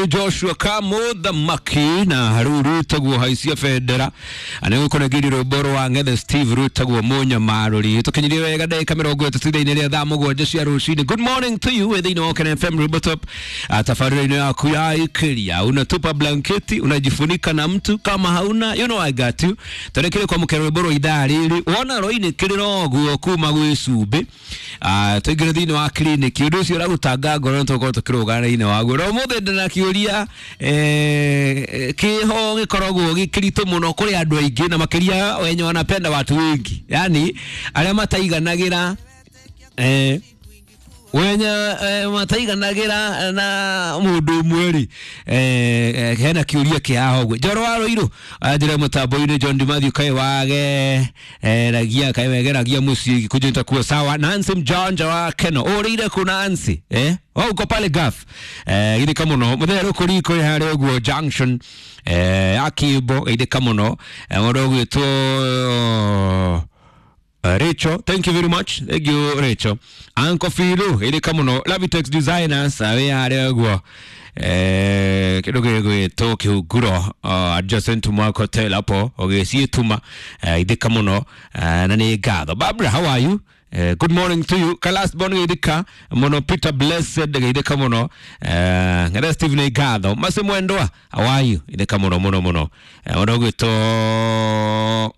Joshua Kamuthamaki na rĩu rwĩtagwo haicia bendera nĩ gũkũnengeirie rwĩmbo rwa Ng'ethe Steve rwĩtagwo Mũnyamarũri. Tũkinyirie wega ndagĩka 30 thutha-inĩ rĩa thaa 7 cia rũcinĩ. Good morning to you wĩ thĩinĩ wa Okene FM Rwĩmbo Top, tabarĩra-inĩ yaku ya Ikiria. Unatupa blanketi unajifunika na mtu kama hauna, you know I got you. Tũrekire kwamũkĩra rwĩmbo rwa ithaa rĩrĩ wona rwainĩkĩrĩra ũguo kuma gwĩ cumbĩ, tũingĩre thĩinĩ wa kliniki. Ũndũ ũcio ũragũtanga ngoro nĩ tũgũkorwo tũkĩrũgana thĩinĩ waguo. Na ũmũthĩ ndĩna kĩũria, kĩho gĩkoragwo gĩkĩritũ mũno kũrĩ andũ aingĩ na makĩria wenye wanapenda watu wengi, yani arĩa mataiganagĩra, wenye mataiganagĩra na mũndũ ũmwe rĩ, hena kĩũria kĩa haha ũguo. Njoro wa Rũirũ anjĩre mũtambo-inĩ John Dimathiũ kaĩ wage ragia kaĩ wegeragia mũciĩ gĩkũnjũ nitakuwa sawa. Nancy Mjanja wa Keno ũrĩire kũ Nancy, eh oh, uko pale Gaf, githika mũno mũthenya rũkũriko harĩa ũguo junction, akimbo githika mũno, mũndũ ũgwĩtwo Rachel, thank you very much. Thank you, Rachel. Uncle Philo, ĩrĩka mũno. Lavitex Designers, wĩ harĩa ũguo. Kĩndũ gĩgwĩtwo kĩhunguro, adjacent to Mark Hotel hapo, ũgĩciĩtuma, ithĩka mũno, na nĩ ngatho. Barbara, how are you? Good morning to you. Kalas Bon geithĩka mũno. Peter Blessed geithĩka mũno. Ng'ethe Steve nĩ ngatho. Masi Mwendwa, how are you? Ithĩka mũno mũno mũno. Mũndũ ũgwĩtwo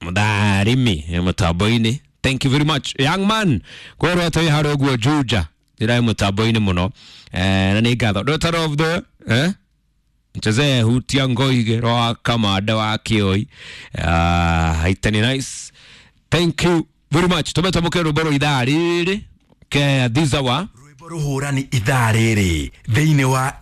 Mũtharimi mũtambo-inĩ, thank you very much young man kwerwo atĩ harĩa ũguo Juja ndĩraĩ mũtambo-inĩ mũno, na nĩ ngatho. Daughter of the nchezee hutia ngoige rwa kamanda wa kĩoi, haitani nice, thank you very much. Tũmetamũke rwĩmbo rwa ithaa rĩrĩ ke this hour. Rwĩmbo rũhũrani ithaa rĩrĩ thĩinĩ wa